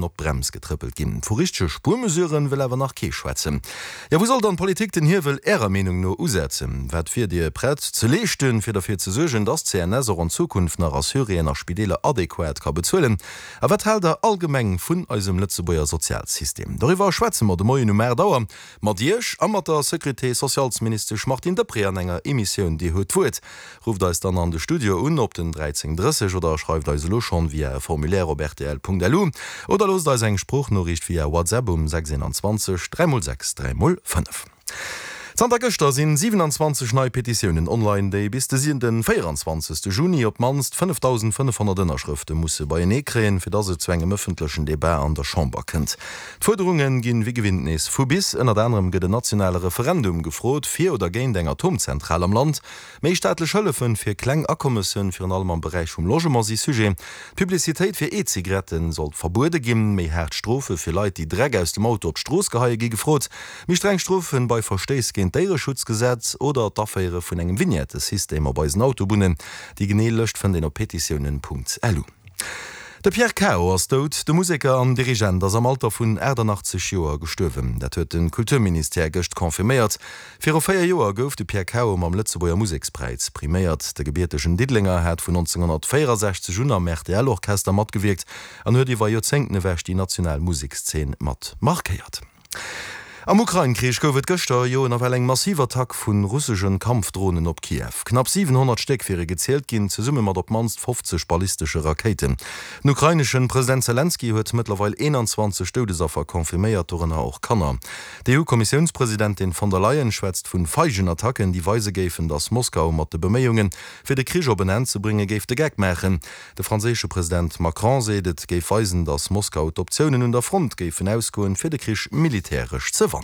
Op d'Brems getrëppelt ginn. Vu richtege Spuermesuren wëll awer nach kee schwätzen. Jo, wou soll dann d'Politik den Hiewel Ärer Meenung no usetzen? Wat wier Dir prett ze leeschten, fir derfir ze suergen, dass d'CNS och an Zukunft nach Assuréen a Spideeler adequat ka bezuelen? A wat haalt Der allgemeng vun eisem Lëtzebuerger Sozialsystem? Doriwwer schwätze mer de Moien um 8 Auer mat Iech a mat der Sécurité-socialesministesch Martine Deprez an enger Emissioun Dir huet d'Wuert. Rufft eis dann an de Studio un op den 13 30 oder schreift eis elo schonn via e Formulaire op rtl.lu oder loosst eis eng Sproochnoriicht via WhatsApp um 6 21 3 x 6 3 x 5. Zanter gëschter sinn 27 nei Petitiounen online, déi bis de 24 Juni op d'mannst 5.500 Ënnerschrëfte musse beienee kréien, fir dass et zu engem ëffentlechen Debat an der Chamber kënnt. D'Fuerderunge ginn wéi gewinnt nees vu bis. Ënnert anerem gëtt en nationale Referendum gefrot, fir oder géint eng Atomzentral am Land. Méi staatlech Hëllefen fir kleng Akommessen, virun allem am Beräich vum Logement, si Sujet. D'Publicitéit fir E-Zigaretten sollt verbuede ginn. Méi haart Strofe fir Leit, déi Dreck aus dem Auto op d'Strooss geheie gi gefrot. Méi streng Strofen bei Verstéiss géint d'Déiereschutzgesetz oder d'Aféiere vun engem Vignettesystem op eisen Autobunnen. Déi genee Lëscht fënnt een op petitiounen.lu. De Pierre Cao ass dout. De Museker an Dirigent ass am Alter vun 88 Joer gestuerwen. Dat huet de Kulturministère gëscht confirméiert. Viru 4 Joer gouf de Pierre Cao mam Lëtzebuerger Musekspräis priméiert. De gebiertegen Diddelenger hat vun 1964 un am RTL-Orchester matgewierkt an huet iwwer Joerzéngten ewech déi national Musekszeen mat markéiert. Am Ukrain-Krich gouf et gëschter jo nawell eng massiv Attack vu russeschen Kampfdronen op Kiew. Knapp 700 Stéck wiere gezielt ginn, zesumme mat op d'mannst 50 ballistesche Rakéiten. Den ukraineschen President Selenskyj huet mëttlerweil 21 Doudesaffer confirméiert, dorënner och Kanner. D'EU-Kommissiounspresidentin von der Leyen schwätzt vun feigen Attacken, déi weise géifen, datt Moskau mat de Beméiungen, fir de Krich op en Enn ze bréngen, géif de Geck maachen. De franséische President Macron seet, et géif weisen, datt Moskau d'Optiounen un der Front géifen ausgoen, fir de Krich militäresch ze wannen.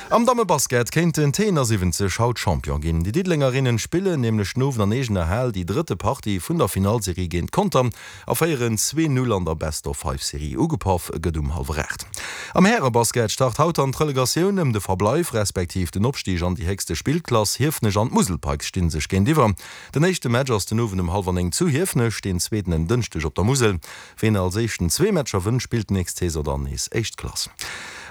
Am Dammebasket kéinten d'T71 haut Champion ginn. Déi Diddelengerinnen spillen nämlech den Owend an eegener Hal déi drëtte Partie vun der Finallserie géint Conter. A féieren 2, 0 an der Best-of-Five-Serie. Ugepaff gëtt um hallwer 8. Am Härebasket start haut dann d'Relegatioun ëm de Verbleif respektiv den Opstig an déi héchste Spillklass. Hiefenech an d'Musel Pikes sti sech géintiwwer. Den éischte Match ass den Owend um hallwer 9 zu Hiefenech, deen zweeten en Dënschdeg op der Musel. Ween als éischten zwee Matcher wënnt, spillt d'nächst Saison dann nees éischt Klass.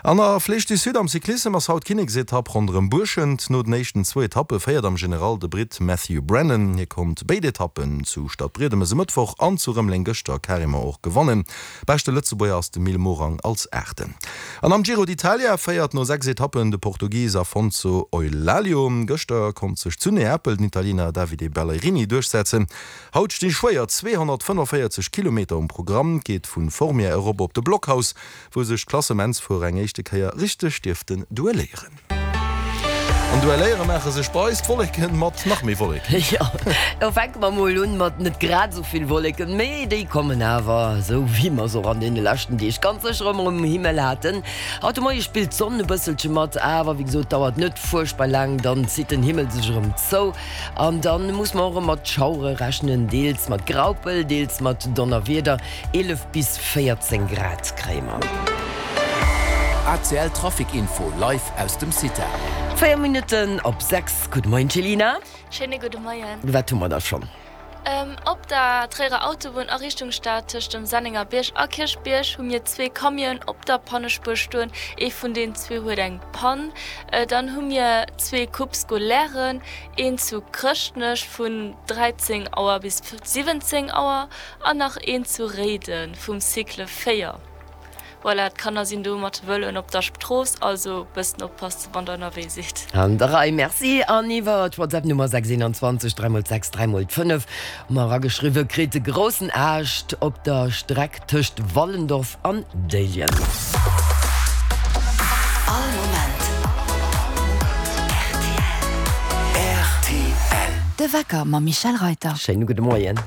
An der Flèche du Sud am Cyclissem ass haut d'Kinneksetapp ronderëm Buerschent. No den éischten zwou Etappe féiert am General de Britt Matthew Brennan. Hie konnt béid Etappen zu Stadbriedemes e Mëttwoch an zu Rëmeleng gëschter carrément och gewannen. Beschte Lëtzebuerger ass de Mil Morang als Aachten. An am Giro d'Italia féiert no 6 Etappen de Portugis Afonso Eulalio. Gëschter konnt sech zu Neapel den Italiener Davide Ballerini duerchsetzen. Haut sti schwéier 245 Kilometer um Programm. Et geet vu Formia erop op de Blockhaus, wou sech d'Klassementsfuerer eng éischte Kéier richteg dierften duelléieren. An duelléiere maache sech bei eis d'Wolleken mat nach méi Wolleken. Jo, da fänke mer mol un mat net grad esou vill Wolleken, mee déi kommen awer, esou wéi mer se och an deene leschten Deeg ganz sécher ëmmer um Himmel haten. Haut de Moie spillt d'Sonn e bësselche mat, awer wéi gesot dauert net fuerchtbar laang, dann zitt den Himmel sech erëm zou an dann muss mer och erëm mat Schauere rechnen, deels mat Graupel, deels mat Donnerwieder. 11 bis 14 Grad kréie mer. ACL Trafic Info live aus dem CITA. 4 Minutten op 6. Gudde Moien Céline. Schéine gudde Moien. Wat hu mer da schonn? Op der Tréierer Autobunn a Richtung Stad tëscht dem Sennengerbierg a Kierchbierg hu mir zwee Camionen op der Pannespuer stoen. Ee vun den zwee huet eng Pann. Dann hu mir zwee Coupes scolairen, een zu Chrëschtnech vun 13 Auer bis 17 Auer An nach een zu Réiden vum Cycle 4. Voilà, d'Kanner sinn do mat de Vëloen op der Strooss, also bëssen oppassen wann der ënnerwee sidd. An der Rei, merci. An iwwer d'Whatsapp Nummer 6 21 3 x 6 3 x 5 hu mer erageschriwwe kritt, Groussen Aascht op der Streck tëscht Wallendorf an Déiljen. All Moment rtl. De Wecker mam Michèle Reyter. Schéine gudde Moien.